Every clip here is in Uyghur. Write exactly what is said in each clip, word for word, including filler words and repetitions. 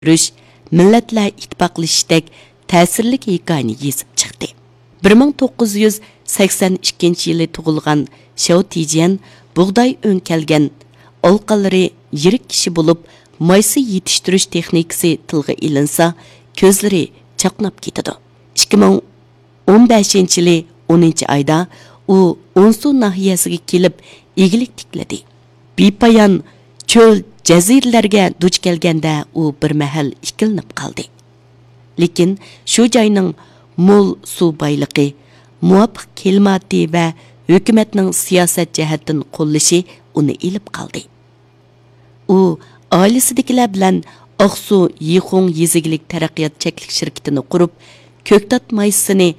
يېتىشتۈرۈش، مىللەتلەر ئىتتىپاقلىشىشتەك تەسىرلىك ھېكايىنى يېزىپ چىقتى. بىر مىڭ توققۇز يۈز سەكسەن ئىككىنچى يىلى تۇغۇلغان شياۋ تىجيەن بۇغداي ئۆڭكەلگەن ئالىقانلىرى يىرىك كىشى بولۇپ، مايسا يېتىشتۈرۈش تېخنىكىسى تىلغا ئېلىنسا، كۆزلىرى چاقناپ كېتىدۇ. ئىككى مىڭ ئون بەشىنچى يىلى ئونىنچى ئايدا ئۇ ئونسۇ ناھىيەسىگە كېلىپ، ئىگىلىك تىكلىدى. بىپايان چۆل، جەزىرىلەرگە دۇچ كەلگەندە، ئۇ بىر مەھەل ئىككىلىنىپ قالدى. لېكىن شۇ جاينىڭ مول سۇ بايلىقى، مۇۋاپىق كىلىماتى ۋە ھۆكۈمەتنىڭ سىياسەت جەھەتتىن قوللىشى ئۇنى ئېلىپ قالدى. ئۇ ئائىلىسىدىكىلەر بىلەن ئاقسۇ يىخۇڭ يېزا ئىگىلىك تەرەققىيات چەكلىك شىركىتىنى قۇرۇپ، كۆكتات مايسىسىنى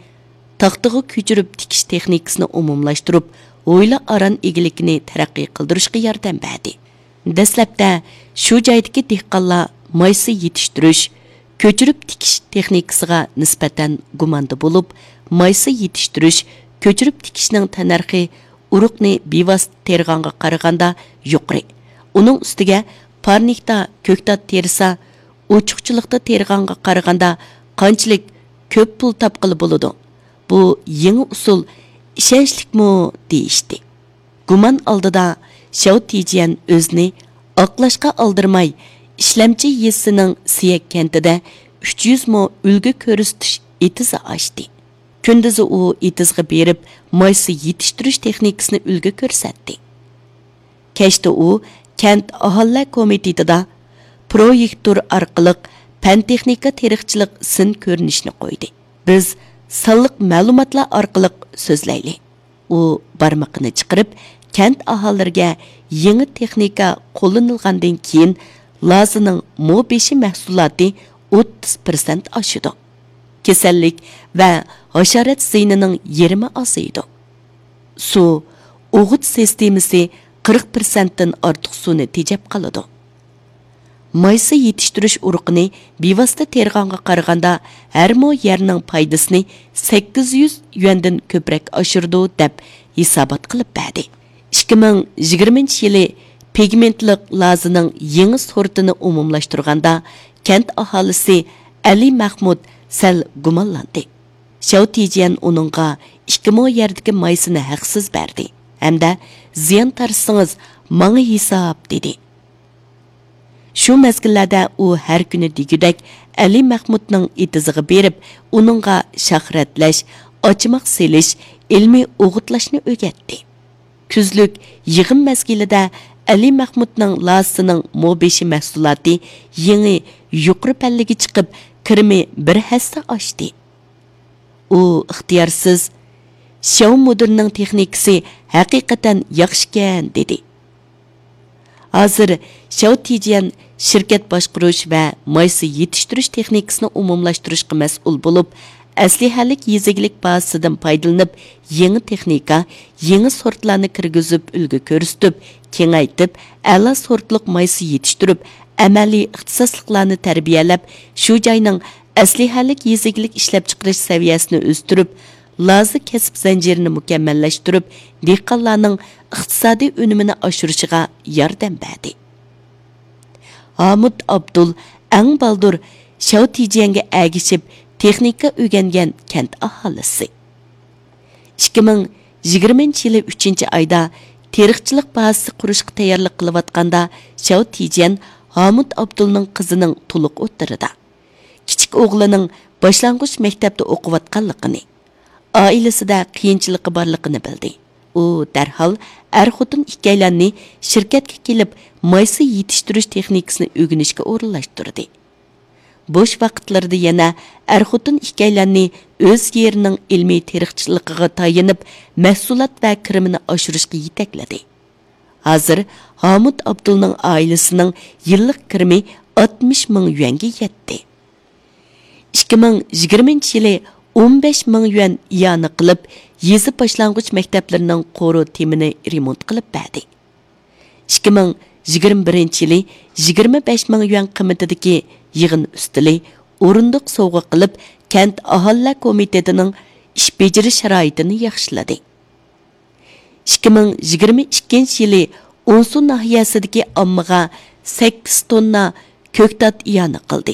تاختىغا كۆچۈرۈپ تىكىش تېخنىكىسىنى ئومۇملاشتۇرۇپ، ھويلا ئاران ئىگىلىكىنى تەرەققىي قىلدۇرۇشقا ياردەم بەردى. دەسلەپتە شۇ جايدىكى دېھقانلار مايسا يېتىشتۈرۈش، كۆچۈرۈپ تىكىش تېخنىكىسىغا نىسبەتەن گۇماندا بولۇپ، مايسا يېتىشتۈرۈش، كۆچۈرۈپ تىكىشنىڭ تەننەرخى ئۇرۇقنى بىۋاسىتە تېرىغانغا قارىغاندا يۇقىرى. ئۇنىڭ ئۈستىگە پارنىكتا كۆكتات تېرىسا، ئوچۇقچىلىقتا تېرىغانغا قارىغاندا قانچىلىك كۆپ پۇل تاپقىلى بولىدۇ؟ بۇ يېڭى ئۇسۇل ئىشەنچلىكمۇ؟ دېيىشتى. گۇمان ئالدىدا شياۋ تىجيەن ئۆزىنى ئاقلاشقا ئالدىرىماي، ئىشلەمچى يېزىسىنىڭ سىيەك كەنتىدە ئۈچ يۈز مو ئۈلگە كۆرسىتىش ئېتىزى ئاچتى. كۈندۈزى ئۇ ئېتىزغا بېرىپ، مايسا يېتىشتۈرۈش تېخنىكىسىنى ئۈلگە كۆرسەتتى. كەچتە ئۇ كەنت ئاھالىلەر كومىتېتىدا پرويېكتور ئارقىلىق پەن-تېخنىكا تېرىقچىلىق سىن كۆرۈنۈشىنى قويدى. بىز سانلىق مەلۇماتلار ئارقىلىق سۆزلەيلى. ئۇ بارمىقىنى چىقىرىپ، كەنت ئاھالىلىرىگە يېڭى تېخنىكا قوللىنىلغاندىن كېيىن، لازىنىڭ مو بېشى مەھسۇلاتى ئوتتۇز پىرسەنت ئاشىدۇ. كېسەللىك ۋە ھاشارات زىيىنىنىڭ يېرىمى ئازىيىدۇ. سۇ، ئوغۇت سىستېمىسى قىرىق پىرسەنتتىن ئارتۇق سۇنى تېجەپ قالىدۇ. مايسا يېتىشتۈرۈش ئۇرۇقىنى بىۋاسىتە تېرىغانغا قارىغاندا، ھەر مو يەرنىڭ پايدىسىنى سەككىز يۈز يۈەندىن كۆپرەك ئاشۇرىدۇ، دەپ ھېسابات قىلىپ بەردى. ئىككى مىڭ يىگىرمىنچى يىلى پىگمېنتلىق لازىنىڭ يېڭى سورتىنى ئومۇملاشتۇرغاندا، كەنت ئاھالىسى ئەلى مەخمۇت سەل گۇمانلاندى. شياۋ تىجيەن ئۇنىڭغا ئىككى مو يەردىكى مايسىنى ھەقسىز بەردى ھەمدە زىيان تارتسىڭىز، ماڭا ھېساب، دېدى. شۇ مەزگىللەردە ئۇ ھەر كۈنى دېگۈدەك ئەلى مەخمۇتنىڭ ئېتىزىغا بېرىپ، ئۇنىڭغا شاخ رەتلەش، ئاچىماق سېلىش، ئىلمىي ئوغۇتلاشنى ئۆگەتتى. كۈزلۈك يىغىم مەزگىلىدە ئەلى مەخمۇتنىڭ لازىسىنىڭ مو بېشى مەھسۇلاتى يېڭى يۇقىرى پەللىگە چىقىپ، كىرىمى بىر ھەسسە ئاشتى. ئۇ ئىختىيارسىز، «شياۋ مۇدىرنىڭ تېخنىكىسى ھەقىقەتەن ياخشىكەن» دېدى. ھازىر شياۋ تىجيەن شىركەت باشقۇرۇش ۋە مايسا يېتىشتۈرۈش تېخنىكىسىنى ئومۇملاشتۇرۇشقا مەسئۇل بولۇپ، ئەسلىھەلىك يېزا ئىگىلىك بازىسىدىن پايدىلىنىپ، يېڭى تېخنىكا، يېڭى سورتلارنى كىرگۈزۈپ، ئۈلگە كۆرسىتىپ، كېڭەيتىپ، ئەلا سورتلۇق مايسا يېتىشتۈرۈپ، ئەمەلىي ئىختىساسلىقلارنى تەربىيەلەپ، شۇ جاينىڭ ئەسلىھەلىك يېزا ئىگىلىك ئىشلەپچىقىرىش سەۋىيەسىنى ئۆستۈرۈپ، لازا كەسىپ زەنجىرىنى مۇكەممەللەشتۈرۈپ، دېھقانلارنىڭ ئىقتىسادىي ئۈنۈمىنى ئاشۇرۇشىغا ياردەم بەردى. ھامۇت ئابدۇل ئەڭ بالدۇر شياۋ تىجيەنگە ئەگىشىپ تېخنىكا ئۆگەنگەن كەنت ئاھالىسى. ئىككى مىڭ يىگىرمىنچى يىلى ئۈچىنچى ئايدا تېرىقچىلىق بازىسى قۇرۇشقا تەييارلىق قىلىۋاتقاندا، شياۋ تىجيەن ھامۇت ئابدۇلنىڭ قىزىنىڭ تولۇق ئوتتۇرىدا، كىچىك ئوغلىنىڭ باشلانغۇچ مەكتەپتە ئوقۇۋاتقانلىقىنى، ئائىلىسىدە قىيىنچىلىقى بارلىقىنى بىلدى. ئۇ دەرھال ئەر-خوتۇن ئىككىيلەننى شىركەتكە كېلىپ، مايسا يېتىشتۈرۈش تېخنىكىسىنى ئۆگىنىشكە ئورۇنلاشتۇردى. بوش ۋاقىتلىرىدا يەنە ئەر-خوتۇن ئىككىيلەننى ئۆز يېرىنىڭ ئىلمىي تېرىقچىلىقىغا تايىنىپ، مەھسۇلات ۋە كىرىمىنى ئاشۇرۇشقا يېتەكلىدى. ھازىر ھامۇت ئابدۇلنىڭ ئائىلىسىنىڭ يىللىق كىرىمى ئاتمىش مىڭ يۈەنگە يەتتى. ئىككى مىڭ يىگىرمىنچى يىلى ئون بەش مىڭ يۈەن ئىئانە قىلىپ، يېزا باشلانغۇچ مەكتەپلىرىنىڭ قورۇ تېمىنى رېمونت قىلىپ بەردى. ئىككى مىڭ يىگىرمە بىرىنچى يىلى يىگىرمە بەش مىڭ يۈەن قىممىتىدىكى يىغىن ئۈستىلى، ئورۇندۇق سوۋغا قىلىپ، كەنت ئاھالىلەر كومىتېتىنىڭ ئىش بېجىرىش شارائىتىنى ياخشىلىدى. ئىككى مىڭ يىگىرمە ئىككىنچى يىلى ئونسۇ ناھىيەسىدىكى ئاممىغا سەككىز توننا كۆكتات ئىئانە قىلدى.